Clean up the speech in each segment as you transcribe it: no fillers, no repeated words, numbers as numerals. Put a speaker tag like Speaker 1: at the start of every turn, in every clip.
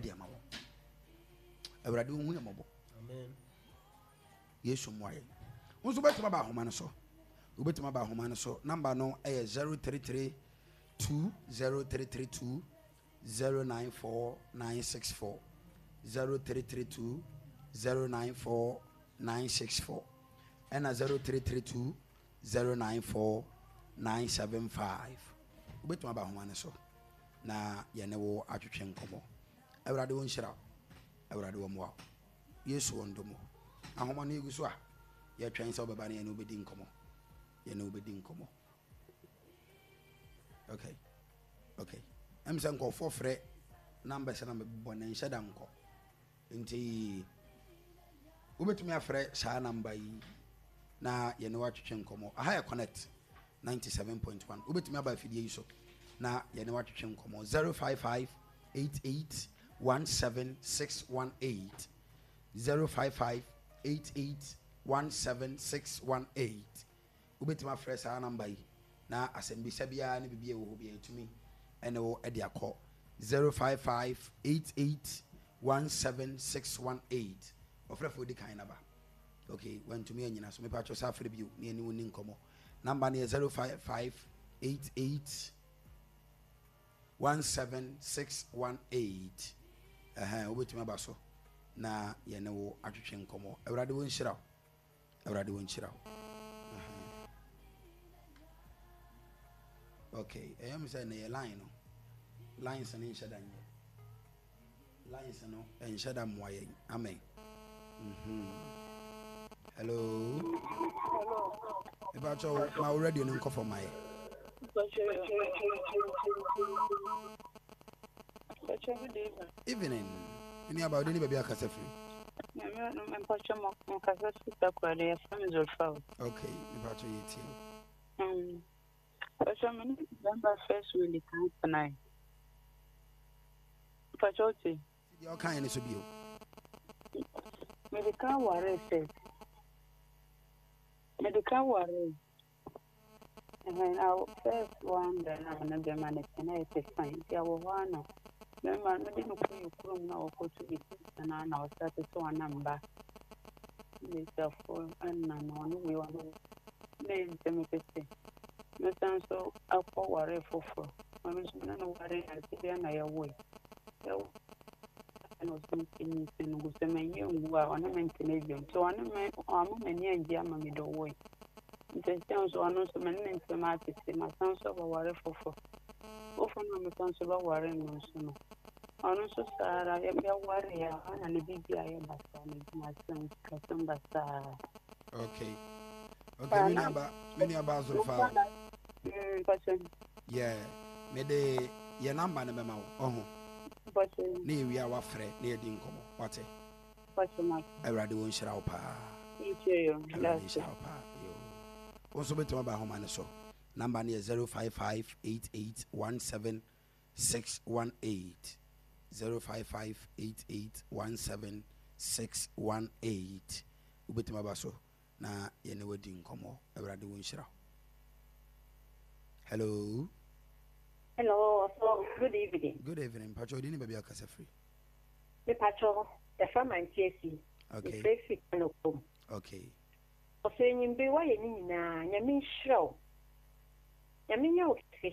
Speaker 1: de ama wɔn. Awurade ɔhu yɛn mmɔbɔ. Yesu mmoa yɛn. Wo nso wobɛtumi aba ahoma no so. Wobɛtumi aba ahoma no so. Namba no yɛ 0332 0332 094964 0332 094964 ɛna 0332 094975. Wobɛtumi aba ahoma no so na yɛne wo atwetwe nkɔmmɔ. Awurade wo nhyira wo. Awurade wɔ mmoa wo. Yesu wɔ ndom wo. Ahoma no yɛgu so a yɛtwɛn sɛ wobɛba na yɛne wobɛdi nkɔmmɔ. Yɛne wobɛdi nkɔmmɔ. Okay. Okay. Ɛm sɛ nkurɔfoɔ frɛ numbers na mebɔ na nhyɛ da nkɔ. Nti wobɛtumi afrɛ saa namba yi na yɛne woatwetwe nkɔmmɔ. Aha yɛ Connect 97.1. Wobɛtumi aba afidie yi so na yɛne woatwetwe nkɔmmɔ. 055 88 17618 055 88 17618. Wobɛtumi afrɛ saa namba yi na asɛmbisa biara ne biribi a ɛwɔ hɔ biara yɛtumi ne wo de akɔ 055 88 17618. Ɔfrɛfoɔ di kan naba. Ok, wantumi anyina so. Mepa kyɛw sɛ afrɛ bio na yɛne wo ni nkɔmmɔ. Namba no yɛ 055 88 17618. Ɛhɛn, wobɛtumi aba so na yɛne wo atwetwe nkɔmmɔ. Awurade wo nhyira wo. Awurade wo nhyira wo. Okay, ɛyɛ mi sɛ na yɛ line no. Lines no nhyɛ da nyɛ. Lines no nhyɛ da mmoa yɛn. Amen. Mm-hmm. Hello.
Speaker 2: Hello.
Speaker 1: Mepa ma wo radio no nkɔ fam ma yɛ. Evening. Nni aba wode ne baabi akasa firi.
Speaker 2: Mpacho mo kasa firi Takoradi yɛfrɛ me Zulfa o.
Speaker 1: Okay, mepacho yɛ tie
Speaker 2: o. Mpacho me ne bɛmba first wɔ kan tenae. Mpacho wote?
Speaker 1: Deɛ ɔkaeɛ no so bio.
Speaker 2: Mede kan waree first. Mede kan waree. Ɛhɛn, na first one deɛ na me ne bɛrima no te na yɛte fine. Nti ɛwɔ hɔ ara na bɛrima no mede no kɔ yɛ kurom na ɔkɔto ne sister no ara na ɔsate sɛ ɔnam ba. Mmesiafoɔ ɛna no ɔno wei ɔno wei. Na ɛyɛ me sɛ mepɛ sɛ mɛsan nso akɔ ware foforɔ. Ɔno nso me ne no waree ansa biara na yɛwoe. Yɛwo ɛna ɔsɛ nti nyinsɛn no gu sɛ manyɛ ngu a ɔne me ntena bio. Nti ɔne me ɔama m'ani angye ama mede ɔwoe. Nti seesei nso ɔno nso me ne ne ntam atete, masan nso abɛware foforɔ. Foforɔ no a mesan nso bɛware no nso no, ɔno nso saa ara yɛwareeɛ a na ne biribi ayɛ basaa, n'adwumasɛm, sikasɛm basaa.
Speaker 1: Okay. Okay, me nuaba, me nuaba Azorofa.
Speaker 2: Mm,
Speaker 1: yeah, me de yɛ namba no bɛma wo, ɔho. Ne yɛwie a wafrɛ na yɛdi nkɔmmɔ, wate? Awurade wo nhyira wo paa. Awurade nhyira wo paa. Yo. Wo nso bɛtumi aba ahoma no so. Namba no yɛ 0558817618. 0558817618. Wobɛtumi aba so na yɛne wadi nkɔmmɔ. Awurade wo nhyira wo. Hello.
Speaker 3: Hello, so good evening.
Speaker 1: Good evening. Pacho, odi ne baabi akasa firi.
Speaker 3: Me pacho, yɛfrɛ me Auntie Esi.
Speaker 1: Okay.
Speaker 3: Mefrɛ fi Kano kurom.
Speaker 1: Okay.
Speaker 3: Ɔsɛ enyimbe wayɛ ne nyinaa, Nyame nhyira wo. Nyame nyɛ wo kɛse.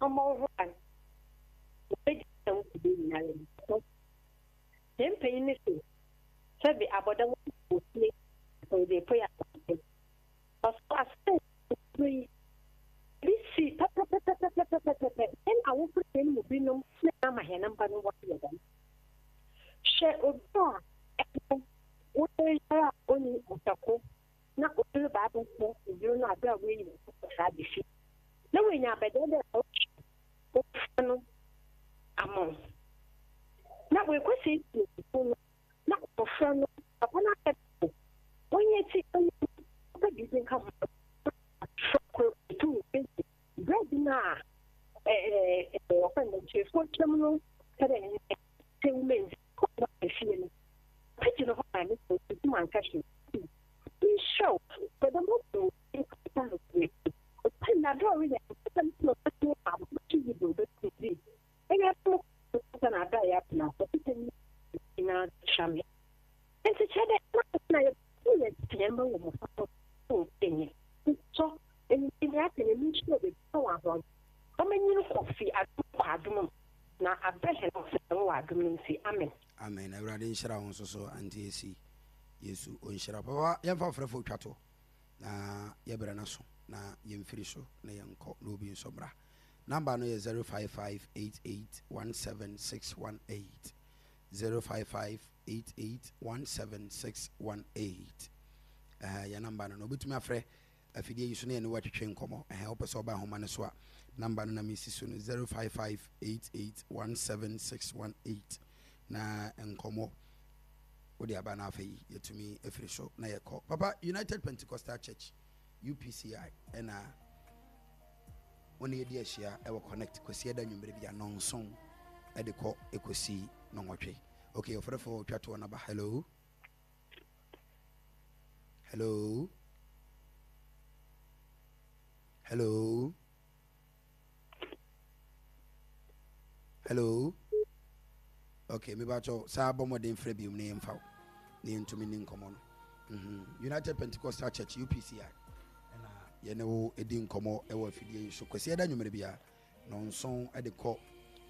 Speaker 3: Ɔmmɔ wo ho ban. Ɔbɛgye na wo dede nyinara mu. Ɔsɛ Yɛn mpanyin no se sɛbe abɔdam wɔ fie na wɔde apue abɔnten. Ɔsɛ asɛm yi bi si pɛpɛpɛpɛpɛpɛpɛ. Hɛn awofo na hɛn mu binom na ama hɛn mba no wɔayɛ dɛm. Hwɛ obi a ɛno wo yer yar a onnyi ɔsako na obi reba abɛhwɛ ne yer no aber a oeyi no kɔ saa aba fie na oenya abɛdan dɛ ɔrohwɛ abofra no ama wo na oekosiesie no no na abofra no papa no ayɛ dɛ ɔnnyɛ tsi ɔnnyɛ ɔpɛ biribi nka ho abofra kor otum bedzi bread no a wɔfrɛ no nkyefo twam no pɛ dɛ sɛ womendzi kɔ fie no pagye no hɔ ma ne sɛ otum anka hwee nhyɛ wo sɛ dɛm ɔkɔ na dɛ ɔreyɛ nsɛm na ɔbɛtumi abɔto yi do ɔbɛtumi di ɛyɛ asɛm sɛ na ada yɛ. atena ase nyinaa kyerɛ me. Nti kyerɛ dɛ na yɛ yɛ yɛn bɛ wɔ mmɔfra no enyi sɔ enyi ni ate ne nhyira bebree wɔ ahoɔden ɔmɛnyin kɔ fi adom kɔ adom mu na abrɛ hɛn ase wɔ adom no nti, amen.
Speaker 1: Amen awurade nhyira wo nso so auntie Esi yesu ɔnhyira wo papa yɛmfa ɔfrɛfoɔ twa to na yɛbrɛ no so na yɛmfiri so na yɛnkɔ na obi nso mmra number no yɛ 0558817618 0558817618 ɛhɛ yɛ number no na obɛtumi afrɛ afidie yi so na yɛne wo atwetwe nkɔmmɔ. Ɛhɛn, wopɛ sɛ ɔba ahoma no so a, number no na mesi so no, 0558817618. Na nkɔmmɔ wode aba na afei yɛtumi afiri so na yɛkɔ. Papa, United Pentecostal Church, UPCI, ɛna wo ne yɛdi ahyia ɛwɔ Connect Kwasiada nwummerɛ bi a nɔnson ɛde kɔ ɛkɔsi nɔnwɔtwe. Okay, ɔfrɛfoɔ twa toɔ no aba. Hello. Hello. Hello. Hello. Okay, me bacho saa bɔ mmɔden frɛ biom na yɛmfa wo na yɛntumi ni nkɔmmɔ no. Mm-hmm. United Pentecostal Church UPCI ɛna yɛne wo ɛdi nkɔmmɔ ɛwɔ afidie yi so kwasi ɛda nwumere biara. Nnɔnson de kɔ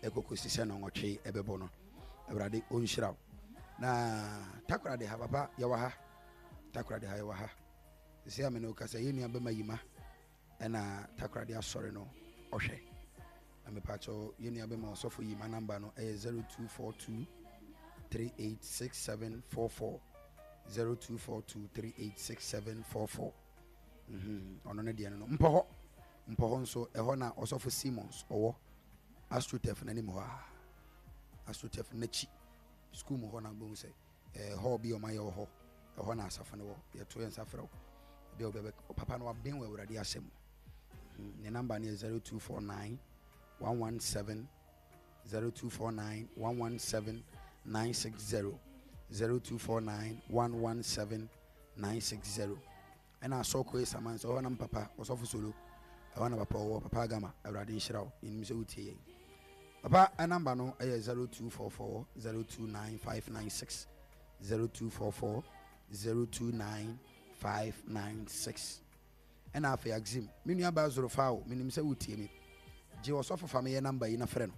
Speaker 1: ɛkɔkɔsi sɛ nnɔnwɔtwe ɛbɛbɔ no. Awurade ɔnhyira wo. Na Takoradi ha papa yɛwɔ ha. Takoradi ha yɛwɔ ha. Sisi a me ne wo kasa yɛn nua bɛma yima ɛna Takoradi asɔre no ɔhwɛ. Na mepakyɛw yɛn nua bɛma ɔsɔfo yima namba no ɛyɛ 0242 386744 0242 386744. Mhm, ɔno ne deɛ no no. Mpɔ hɔ. Mpɔ hɔ nso, ɛhɔ na Ɔsɔfo Simmons ɔwɔ, AstroTurf no anim hɔ ara. AstroTurf no n'akyi, sukuu mu hɔ na wobɛhu sɛ eh, hall bi a wɔayɛ wɔ hɔ. Ɛhɔ na asafo no wɔ. Yɛto yɛn nsa frɛ wo. Ebi a wobɛbɛ, papa no waben wɔ Awurade asɛm mu. Hmm, ne namba no yɛ 0249 117 0249 117 960 0249 117 960. Ɛna asɔ koe saman sɛ ɔhɔ na mpapa ɔsɔfo solo ɛhɔ na papa ɔwɔ papa agama awurade nhyira wo yɛnim sɛ wotie yɛn papa ɛnamba no ɛyɛ 0244 029596 0244 029596 ɛna afei axim me nua baa zorofa o menim sɛ wotie me gye ɔsɔfo fa meyɛ namba yi na frɛ no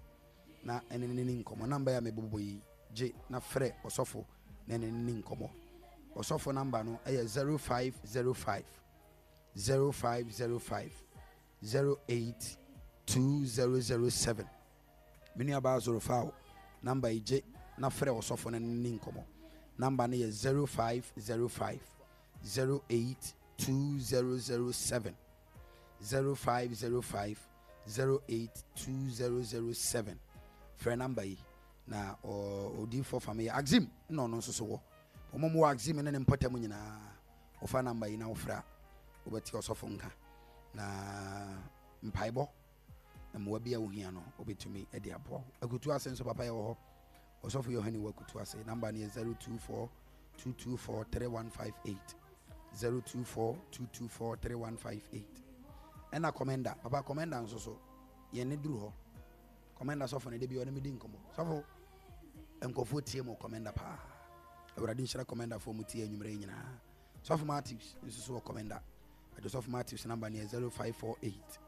Speaker 1: na ɛne ne ne nkɔmmɔ namba yi a mebobɔ yi gye na frɛ ɔsɔfo na ɛne no nni nkɔmmɔ. Ɔsɔfo namba no yɛ 0505 0505 08 2007. Me nuabaa Zorofao, namba yi gye na frɛ ɔsɔfo no ne no nni nkɔmmɔ. Namba no yɛ 0505 08 2007. 0505 08 2007. Frɛ namba yi. Na odiyifoɔ fa me yɛ Axim na ɔno nso so wɔ. Wɔn a wɔwɔ Axim ne ne mpɔtam nyinaa, wɔfa namba yi na wofrɛ a, wobɛte ɔsɔfo nka. Na mpaebɔ, mmoa bi a wohia no, wobɛtumi de aboa wo. Akutu ase nso papa yɛwɔ hɔ. Ɔsɔfo Yohane wɔ Akutu ase. Namba no yɛ 024 224 3158. 024 224 3158. Ɛna kɔmɛnda, papa kɔmɛnda nso so, yɛn ne duru hɔ. Kɔmɛnda sɔfo no, da bi ɔne me di nkɔmmɔ. Sɔfo, nkurɔfoɔ tie mo kɔmɛnda paa. Awurade nhyira kɔmɛndafoɔ mu tie anwummerɛ yi nyinaa. Sɔfo Matthews nso so wɔ kɔmɛnda. Adwo sɔfo Matthews namba no yɛ 0548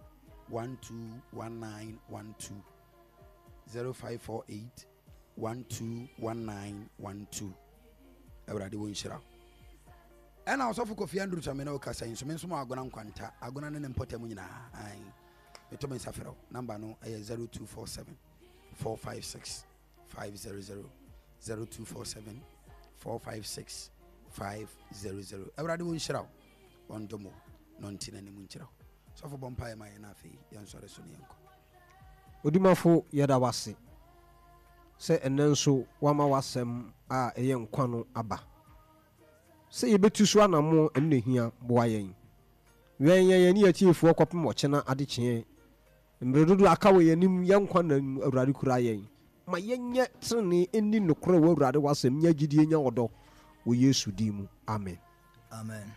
Speaker 1: 121912. 0548 121912. Awurade wɔ nhyira wo. Ɛna ɔsɔfo Kofi Andrew sɛ me ne wo kasa yi nso me nso mo agona nkwanta agona ne ne mpɔtam nyinaa. Ae. Meto me nsa frɛ wo. Number no yɛ 0247 456 500. 0247 456 500. Awurade wo nhyira wo. Ɔndom wo na ɔnte n'anim nkyerɛ wo. Sɔfo bɔ mpaeɛ ma yɛn na afei yɛnsɔre so ne yɛnkɔ.
Speaker 4: Odimafo yɛda wo ase sɛ ɛnnɛ nso woama w'asɛm a ɛyɛ nkwa no aba. Sɛ yɛbɛtu so anammɔn ɛno na ɛhia, boa yɛn. Wɛn yɛn yɛne yɛn atiefoɔ kɔpem ɔkyena adekyeɛ. Mmerɛ dodoɔ a aka wɔ yɛn anim, yɛn nkwa nna mu, Awurade kura yɛn. Ma yɛnyɛ tenenee, nni nokorɛ wɔ Awurade w'asɛm, nya gyidie, nya ɔdɔ, wɔ Yesu din mu, amen.
Speaker 5: Amen.